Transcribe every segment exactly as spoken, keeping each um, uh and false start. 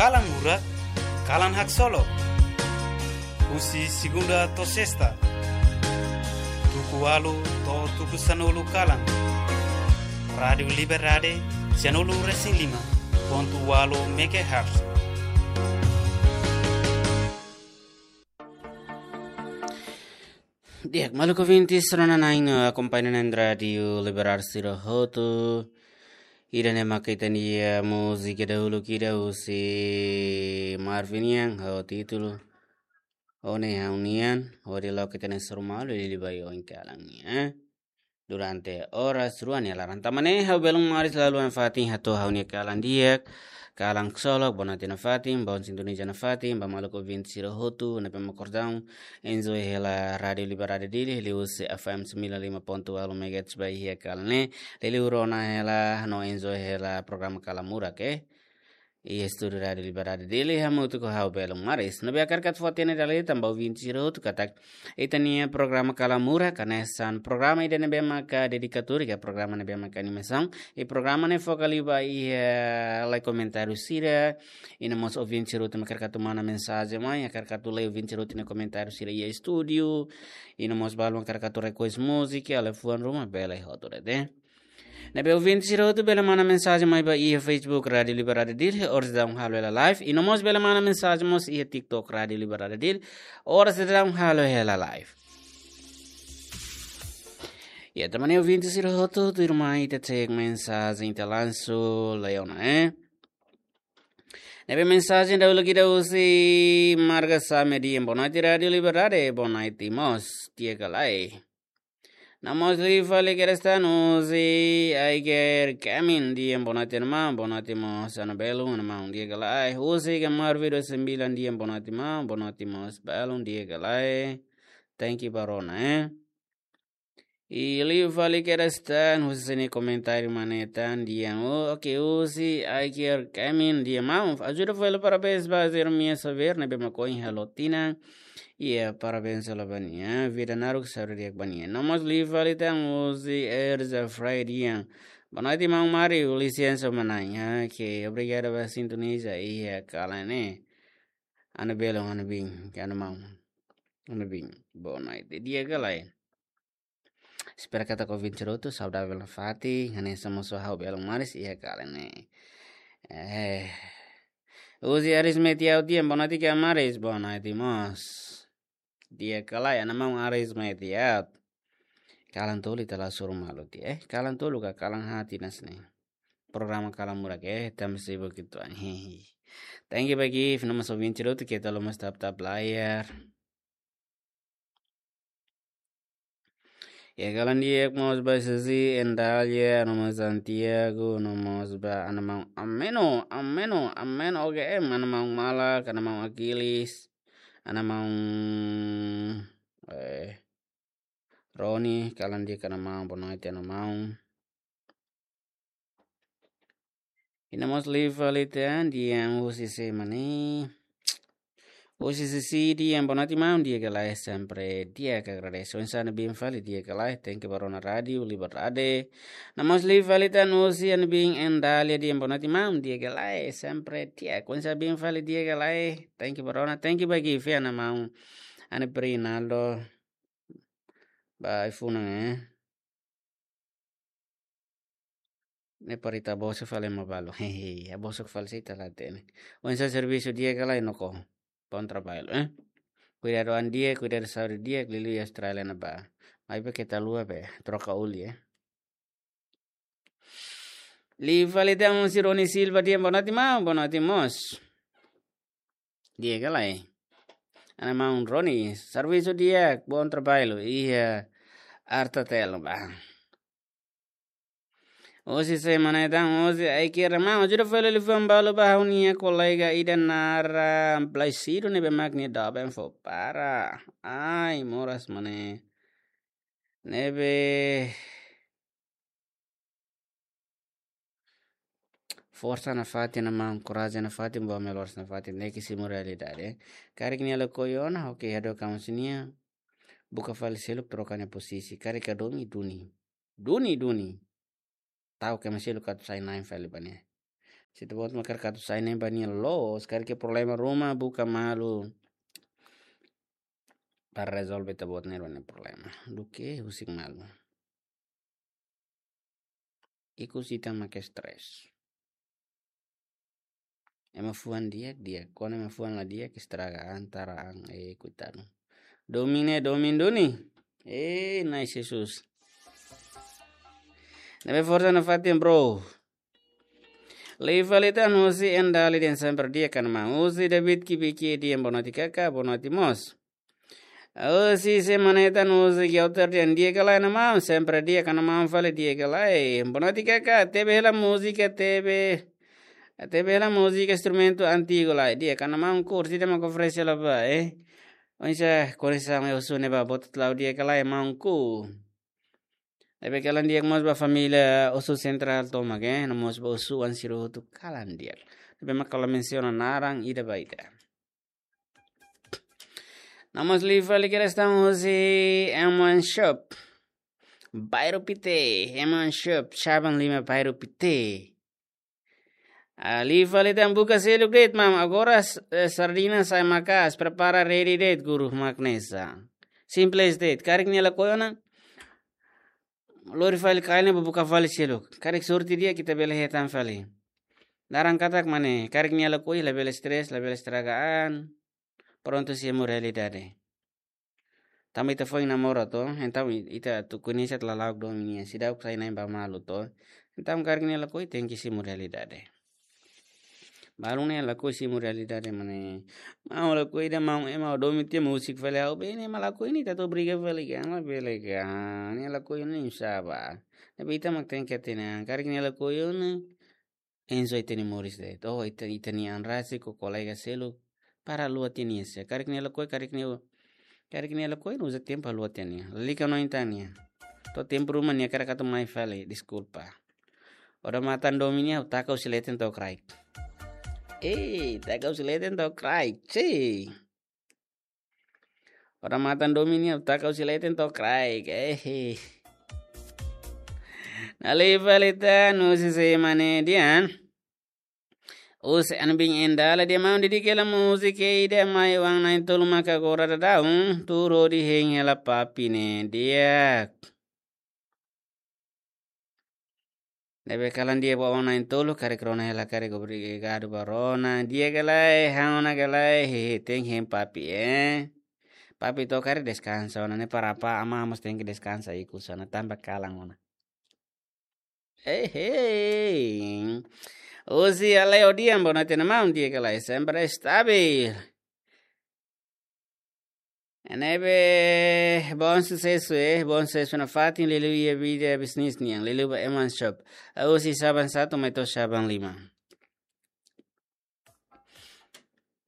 Kalan Murak, kalan haksolok. Husi segunda to'o sesta, tuku ualu to'o tuku sanulu kalan. Rádiu Liberdade, sanulu resin lima pontu ualu megahertz. Di'ak, maluk ouvintes, rona-na'in no akompaña na'in Rádiu Liberdade sira hotu. Ida-ne'e mak ita-nia múzika dahuluk ida husi Marvin nian ho títulu Ó Ne'e Ha'u-Nian, hodi loke ita-nia sorumalu liuliu ba oin kalan nian, eh. Durante oras rua nia laran. Tanba ne'e ha'u belun maris la haluha nafatin hato'o ha'u-nia kalan di'ak, kalan haksolok, boa noite nafatin, bom sintonia nafatin ba maluk ouvinte sira hotu ne'ebé mak orsida enjoy hela Rádiu Liberdade Dili, liuhusi F M sembilan lima pontu ualu megahertz ba iha kalan ne'e, liuliu rona hela no enjoy hela programa Kalan Murak, eh. Iha estúdiu Rádiu Liberdade Dili, hamutuk ho ha'u belun maris. Ne'ebé hakarak atu fó-hatene dala ida tan ba ouvinte sira hotu katak ita-nia programa Kalan Murak hanesan programa ida ne'ebé maka dedikatóriu, ka programa ne'ebé maka animasaun. I programa ne'e foka liu ba iha lai komentáriu sira. I no mós ouvinte sira hotu mak hakarak atu mana mensajen mai, hakarak atu lee ouvinte sira hotu nia komentáriu sira iha estúdiu. I no mós balu mak hakarak atu request múzika, ka liafuan ruma, bele hotu de'it, eh. Ne'ebé ouvinte sira hotu bele mana mensajen mai ba iha Facebook Rádiu Liberdade Dili, oras daudaun halo hela live. I no mós bele mana mensajen mós iha TikTok Rádiu Liberdade Dili, oras daudaun halo hela live. Ya, tanba ne'e ouvinte sira hotu, tuirmai ita cek mensajen ita lansu Leona, eh. Ne'ebé mensajen dahuluk ida husi Marga Same dehan boa noite Rádiu Liberdade, boa noite mós, di'ak ka lae. No mós liu fali kedas tan husi Aiger Kemin dehan boa noite maun, boa noite mós Ana Belun, maun, di'ak ka lae. Husi Kemar Video Sembilan dehan boa noite maun, boa noite mós belun, di'ak ka lae. Thank you ba rona, eh. I liu fali kedas tan husi nia komentáriu mane tan dehan, oh, oke, husi Aiger Kemin dehan maun, ajuda fali parabéns ba Jeremias Xavier ne'ebé mak ohin halo tinan. Iya, parabéns hela ba nia, vida naruk, saúde di'ak ba nia. No mós liu fali tan husi Erza Fray dehan boa noite maun Mário, lisensa maun, ah, oke, obrigadu ba sintoniza iha kalan ne'e. Ana Belun, Ana Bin, ka Ana Maun, Ana Bin, boa noite, di'ak ka lae. Espera katak ouvinte sira hotu saudavel nafatin, hanesan mós ha'u belun maris iha kalan ne'e. Eh, husi Aris Metiaut dehan boa noite ka maris, boa noite mós. Di'ak ka lae, Ana Maun Aris Metiaut. Kalan tolu ita la sorumalu tiha, eh, kalan tolu ka kalan haat hanesan ne'e. Programa Kalan Murak, eh, tanba sibuk uitoan, hehe. Thank you ba Gift, no mós ouvinte sira hotu, keta haluha mós tap-tap layar. Ya, kalan di'ak mós ba Suzy Endalia, no mós Santiago, no mós ba Ana Maun Ameno, Ameno, Ameno O G M, Ana Maun Malak, Ana Maun Aquiles, Ana Maun, eh, Roni, kalan di'ak Ana Maun, boa noite Ana Maun. I no mós liu fali tan dehan husi sé mane. Husi Sisi dehan boa noite maun, di'ak ka lae, sempre di'ak, agradese. Oinsá Ana Bin fali, di'ak ka lae, thank you ba rona Rádiu Liberdade. No mós liu fali tan husi Ana Bin Endalia dehan boa noite maun, di'ak ka lae, sempre di'ak. Oinsá Bin fali, di'ak ka lae, thank you ba rona, thank you ba Gift, Ana Maun. Ana Brinaldo. Ba iPhone, eh. Ne'e para ita bosok fali ema balu. Hehe, ya bosok fali sei ita la hatene. Oinsá servisu di'ak ka lae, Noko? Bom trabalho, eh? Kuidadu an di'ak, kuidadu saúde di'ak, liuliu iha Austrália ne'ebá. Maibé keta haluha be troka oli, eh? Liu fali tan husi Roni Silva dehan boa noite maun, boa noite mós. Di'ak ka lae. Ana Maun Roni, servisu di'ak, bom trabalho. Iha Artatel ne'ebá. Husi sé mane tan, husi Aiker, Ana Maun, ajuda fali liafuan balu ba ha'u-nia kolega ida naran Plaisido ne'ebé mak nia doben fó para. Ai, moras mane. Ne'ebé forsa nafatin Ana Maun, korajen nafatin, buat meloras nafatin, ne'e ke simu realidade. Karik nia lakohi ona, oke, hadook kamu sinia. Buka fali seluk, troka nia posisi. Karik hadomi, duni. Duni, duni. Tau ke ema seluk atu sai na'in fali ba nia. Se ita-boot mak hakarak atu sai ne'e ba nia loos, karik iha problema ruma, buka malu para rezolve ita-boot ne'e rua nia problema. Duké husik malu. Ikus ita mak stres. Ema fuan di'ak, di'ak. Kuandu ema fuan la di'ak, estraga an, tara an, eh, koitadu. Domin ne'e, domin duni. Eh, Na'i Jesus. Ne'ebé forsa nafatin, bro. Liu fali tan husi Endali dehan sempre di'ak ka maun. Husi David Kibiki dehan boa noite kaka, boa noite mós. Husi Semanetan husi Geuter dehan di'ak ka lae maun, sempre di'ak ka maun fali di'ak ka lae. Boa noite kaka, tebe hela múzika, tebe, tebe hela múzika instrumentu antigu lae, di'ak ka maun kurti de ma kofrese la ba, eh. Oinsá kondisaun iha Osu ne'ebá, boot la'o di'ak ka lae maun ku. Ne'ebé kalan di'ak mós ba família Osu Sentrál tomak, eh, no mós ba Osu-oan sira hotu kalan di'ak. Ne'ebé mak la mensiona naran ida ba ida. No mós liu fali kedas tan husi M one Shop. Bairru Pite, M one Shop, Xaban Lima, Bairru Pite. Ah, liu fali tan buka seluk de'it, maun. Agora s-, eh, sardina sai maka'as, prepara ready de'it, guru mak hanesan. Simples de'it, karik nia lakohi ona, lori fali kail ne'e ba buka fali seluk. Karik sorte di'ak ita bele hetan fali. Laran katak mane, karik nia lakohi, labele stres, labele estraga an. Prontu simu realidade. Tanba ita foin namora to, entaun i-, ita atu koñese lala'ok domin nian, seidauk sai na'in ba malu to. Entaun karik nia lakohi tenke simu realidade. Balun ne'e lakohi simu realidade mane. Maun lakohi ida maun ema domin tiha husik fali ha'u be ne'e ema lakohi ne'e ita atu briga fali ka, labele ka. Nia lakohi ne'e sá ba. Ne'ebé ita mak tenke hatene an, karik nia lakohi ne'e enjoy ita-nia moris de'it. Oh, ita, ita-nia an rasik ho kolega seluk para haluha tiha nia, se karik nia lakohi, karik nia, karik nia lakohi, uza tempu haluha tiha nia. Lalika no intan nia. To'o tempu ruma nia hakarak atu mai fali, deskulpa. Odamatan domin nia, taka husi leten to'o kraik. Eh, taka husi leten to'o kraik, si. Odamatan domin nia, taka husi leten to'o kraik, eh. Liu fali tan husi Semane dehan. Husi Anbin Endala dehan maun dedika hela múzika ida mai oan na'in-tolu maka agora daudaun, tuur hodi hein hela Papi ne'e di'ak. Ne'ebé kalan di'ak ba oan na'in-tolu, karik rona hela karik obrigadu ba rona. Di'ak ka lae, han ona ka lae, hehe, tenke hein Papi, eh. Papi to'o karik deskansa ona, ne'e para apa, ama mós tenke deskansa ikus ona, tanba kalan ona. Hehe. Husi Aleo dehan, boa noite maun, di'ak ka lae, sempre estabil. Ne'ebé, bom susesu, eh, bom susesu nafatin, liuliu iha vida bisnis nian, liuliu ba M one Shop. Husi Xaban satu mai to'o Xaban lima.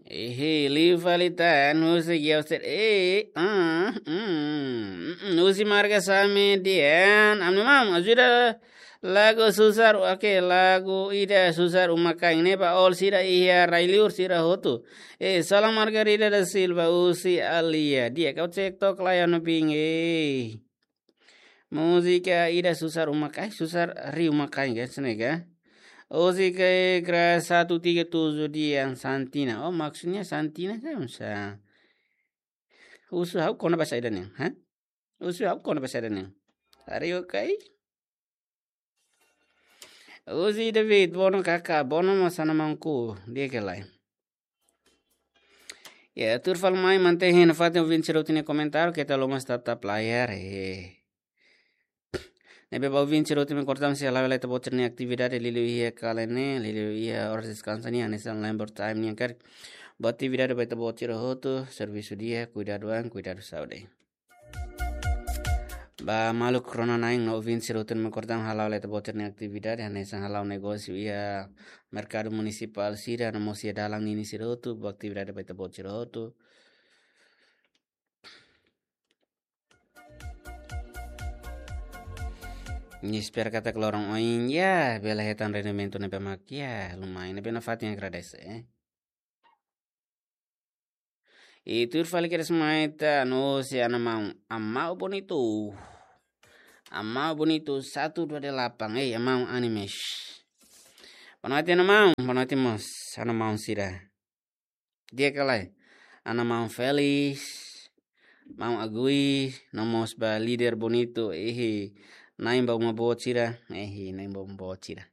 Ehe, liu fali tan, husi Geuter, eh, ah, mm, mm, mm, husi Marga Same dehan, ami-nia maun, ajuda lagu susar, oke, lagu ida susar uma-kain ne'e ba all sira iha rai-liur sira hotu. Eh, Salam Margarida da Silva, husi Alia. Di'ak ka TikTok lae no bing, eh. Múzika ida susar uma-kain, susar ri uma-kain, ka, hanesan ne'e ka. Husi ke kra satu tiga tujuh dehan Santina. Oh, maksudnya Santina ka, sá? Husu ha'u kona-ba saida ne'e, ha? Husu ha'u kona-ba saida ne'e. Ari okai. Husi David, bono kaka, bono mós ana maun ku, di'ak ka lae. Ya, tuur fali mai, mantein hein nafatin ouvinte sira hotu nia komentáriu, keta haluha mós tap-tap layar, eh. Ne'ebé ba ouvinte sira hotu mak kortan sei hala'o hela ita-boot sira-nia atividade liuliu iha kalan ne'e, liuliu iha oras deskansa nian, hanesan labor time nian karik. Ba atividade ba ita-boot sira hotu, servisu di'ak, kuidadu an, kuidadu saúde. Ba maluk rona-na'in no ouvinte sira hotu mak kortan hala'o hela ita-boot sira-nia atividade, hanesan hala'o negósiu iha merkadu munisipál sira, no mós iha dalan ninin sira hotu, ba atividade ba ita-boot sira hotu. Nia espera katak loron oin, ya, bele hetan rendimentu ne'ebé mak, ya, lumayan, ne'ebé nafatin agradese, eh. I tuur fali kedas mai tan husi ana maun, Amau Bonitu. Amau Bonitu satu dua delapan. Eh, Amau Animes. Boa noite, ha'u-nia maun. Boa noite mós, ha'u-nia maun sira. Di'ak ka lae? Ha'u-nia maun Felix, maun Agui, no mós ba líder bonitu, ihi, na'in ba uma boot sira, ihi, na'in ba uma boot sira.